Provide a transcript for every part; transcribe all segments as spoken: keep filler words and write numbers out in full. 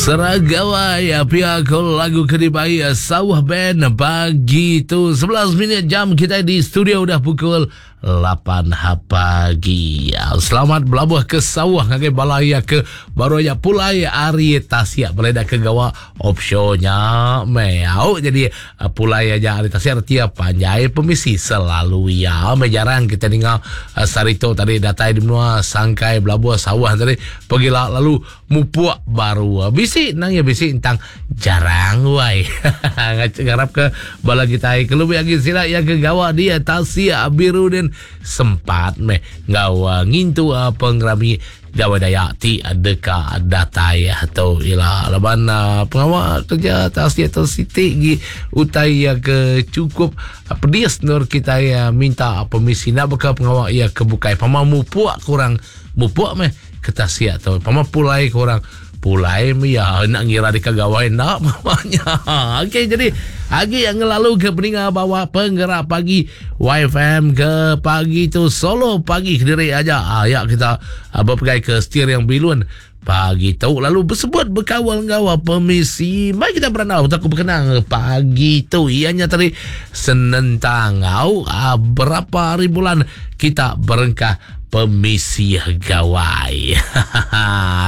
Seragawai pia ko lagu ke dibai Sauh Band pagi tu. Sebelas minit jam kita di studio udah pukul lapan pagi. Selamat belabuh ke sawah ngagai bala iya ke baru aja pulai ari tasik boleh dah ke gawa offshore nya meh. Au, jadi pulai aja ari tasik reti panjai pemisi selalu iya. Meh jarang kita ninga sehari tu tadi datai di menua sangkai belabuh sawah tadi pegila lalu mupuk baru. Bisi nang iya bisi entang jarang wai. Ngarap ke bala kita ke lebih agi sila yang ke gawa dia tasik biru din sempat meh ngau uh, ngintu uh, pengerami Gawai Dayak ti deka datai tu ila laban uh, pengawa kerja tasik tu siti gi utai yang ke cukup uh, pedis nur kita uh, minta permisi nak beka pengawa ia ke bukai pama mupuk kurang mupuk meh ke tasik tu, pama pulai kurang pulai meh ya, nak ngira di gawai nak mamanya. Okey, jadi agi yang ngelalu ke peninga bawa penggerak pagi Y F M ke pagi tu solo pagi kediri aja. Ah, ya kita ah, berpegai ke steering bilun pagi tu lalu bersebut berkawal ngau permisi. Mari kita beranau aku berkenang pagi tu ianya tadi senentang au ah, berapa hari bulan kita berengkah permisi gawai.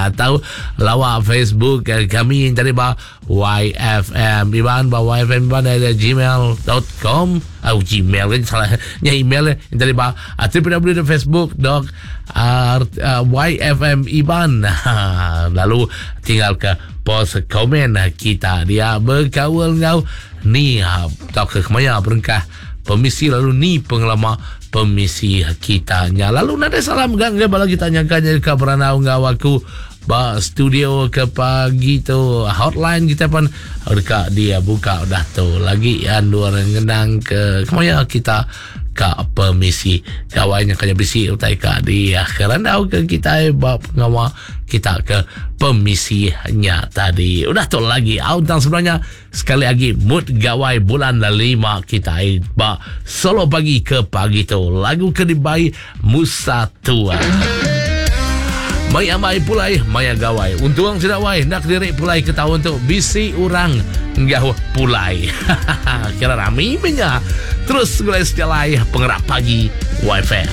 Tahu lawak Facebook kami yang tadi ba Y F M Iban, ba Y F M Iban ada gmail dot com. Oh, Gmail kan salah. Nya email yang tadi ba w w w dot facebook dot y f m Iban. Lalu tinggal ke post komen kita dia berkawal ngau ni tau ke kemaya berengkah permisi lalu ni pengelama permisi kita nya. Lalu nada salam gang ke bala kita nyangka nya ke beranau ngau aku ba studio ke pagi tu. Hotline kita pun dekat dia buka dah tu lagi andur ngenang ke kemaya kita ka permisi gawainya kaya bisi utai ka dia kerandau ke kita ba pengawa kita ke permisinya tadi. Udah tu lagi au tang sebenarnya sekali lagi mood gawai bulan lima kita ba solo pagi ke pagi tu lagu ke dibai Musa Tua. Mai amai pulai maya gawai. Untung tidak wai nak diri pulai ke tahun tu bisi orang enggau pulai. Kira rami punya. Terus gulai sejalai penggerak pagi Y F M.